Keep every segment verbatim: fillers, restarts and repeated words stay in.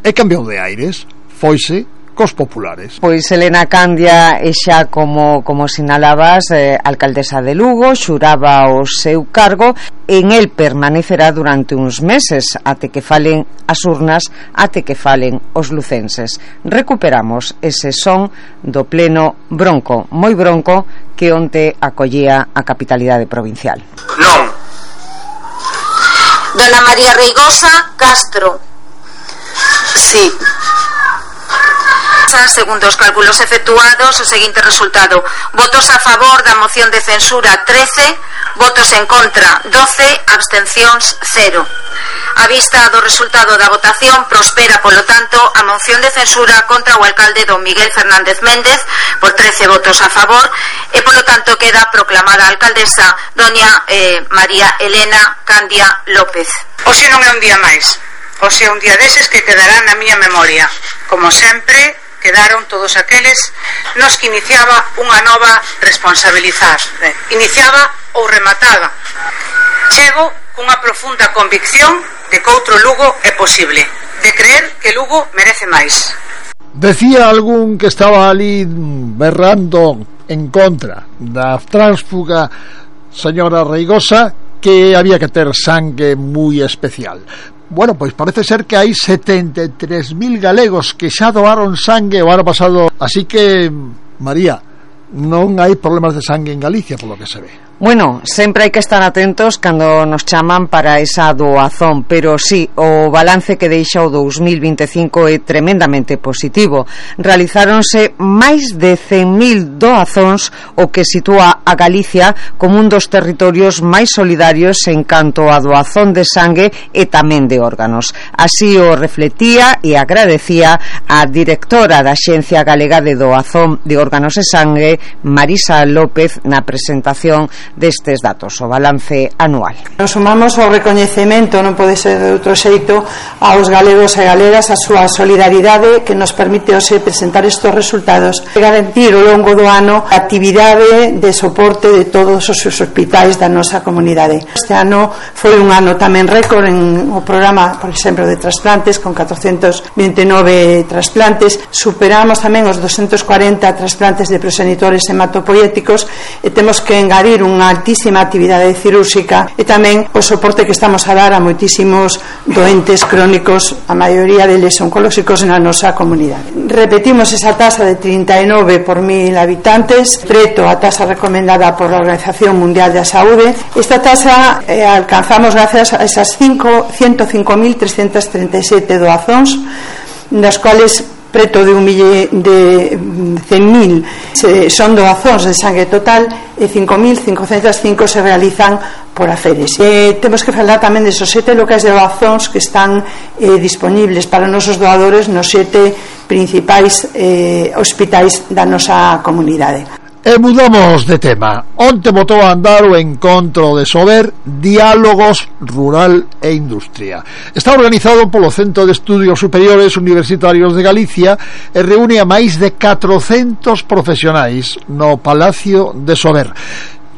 e cambiou de aires, foise cos populares. Pois Elena Candia é xa como, como sinalabas, eh, alcaldesa de Lugo, xuraba o seu cargo, en el permanecerá durante uns meses até que falen as urnas, até que falen os lucenses. Recuperamos ese son do pleno bronco, moi bronco, que onte acollía a capitalidade provincial. Non. Dona María Reigosa Castro. Sí. Segundo os cálculos efectuados, o seguinte resultado: votos a favor da moción de censura trece, votos en contra doce, abstencións cero. A vista do resultado da votación, prospera, polo tanto, a moción de censura contra o alcalde don Miguel Fernández Méndez por trece votos a favor e, polo tanto, queda proclamada a alcaldesa doña eh, María Elena Candia López. Hoxe non é un día máis, hoxe é un día deses que quedará na miña memoria. Como sempre, quedaron todos aqueles nos que iniciaba unha nova responsabilizar, iniciaba ou remataba. Chego cunha profunda convicción de que outro Lugo é posible, de creer que Lugo merece máis. Decía algún que estaba ali berrando en contra da tránsfuga señora Reigosa que había que ter sangue moi especial. Bueno, pois parece ser que hai setenta e tres mil galegos que xa doaron sangue o ano pasado, así que, María, non hai problemas de sangue en Galicia, polo que se ve. Bueno, sempre hai que estar atentos cando nos chaman para esa doazón, pero sí, o balance que deixa o dous mil vinte e cinco é tremendamente positivo. Realizáronse máis de cen mil doazóns, o que sitúa a Galicia como un dos territorios máis solidarios en canto a doazón de sangue e tamén de órganos. Así o refletía e agradecía a directora da Axencia Galega de Doazón de Órganos e Sangue, Marisa López, na presentación destes datos, o balance anual. Nos sumamos ao recoñecemento, non pode ser de outro xeito, aos galegos e galegas a súa solidaridade que nos permite hoxe presentar estes resultados e garantir ao longo do ano a actividade de soporte de todos os hospitais da nosa comunidade. Este ano foi un ano tamén récord en o programa, por exemplo, de trasplantes, con catrocentos vinte e nove trasplantes. Superamos tamén os doscientos cuarenta trasplantes de progenitores hematopoéticos e temos que engadir un unha altísima actividade cirúrxica e tamén o soporte que estamos a dar a moitísimos doentes crónicos, a maioría deles oncolóxicos na nosa comunidade. Repetimos esa tasa de trinta e nove por mil habitantes, preto a tasa recomendada por a Organización Mundial da Saúde. Esta tasa eh, alcanzamos gracias a esas ciento cinco mil trescentos treinta e sete doazóns, das cuales preto de un mille de cen mil son doazóns de sangue total e cinco mil cincocentos cinco se realizan por aferes. Eh, temos que falar tamén desos sete locais de doazóns que están eh, disponibles para os nosos doadores nos sete principais eh, hospitais da nosa comunidade. E mudamos de tema. Onte botou a andar o encontro de Sober Diálogos Rural e Industria. Está organizado polo Centro de Estudios Superiores Universitarios de Galicia e reúne a máis de catrocentos profesionais no Palacio de Sober.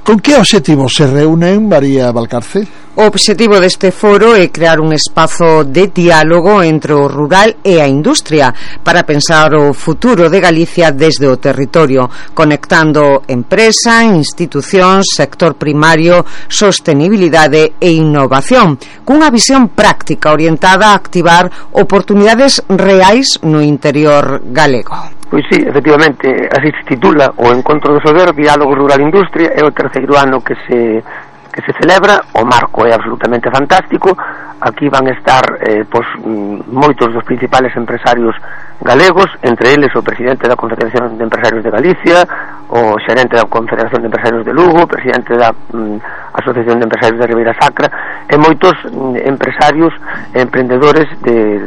Con que obxectivos se reúnen, María Valcarce? O obxectivo deste foro é crear un espazo de diálogo entre o rural e a industria para pensar o futuro de Galicia desde o territorio, conectando empresa, institucións, sector primario, sostenibilidade e innovación, cunha visión práctica orientada a activar oportunidades reais no interior galego. Pois sí, efectivamente, así se titula o Encontro do Sober, Diálogo Rural-Industria, é o terceiro ano que se que se celebra, o marco é absolutamente fantástico. Aquí van estar eh, pois, moitos dos principales empresarios galegos, entre eles o presidente da Confederación de Empresarios de Galicia, o xerente da Confederación de Empresarios de Lugo, o presidente da mm, Asociación de Empresarios de Ribeira Sacra, e moitos mm, empresarios e emprendedores de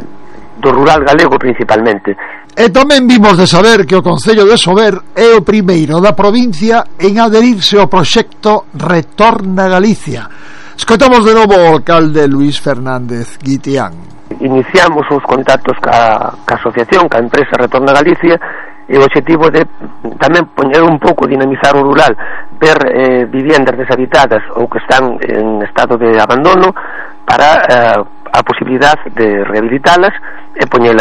do rural galego principalmente. E tamén vimos de saber que o Concello de Sober é o primeiro da provincia en adherirse ao proxecto Retorna Galicia. Escoitamos de novo o alcalde Luís Fernández Guitián. Iniciamos os contactos ca, ca asociación, ca empresa Retorna Galicia, e o objetivo de tamén poñer un pouco, dinamizar o rural, ver eh, viviendas deshabitadas ou que están en estado de abandono para eh, a posibilidade de rehabilitalas e poñelas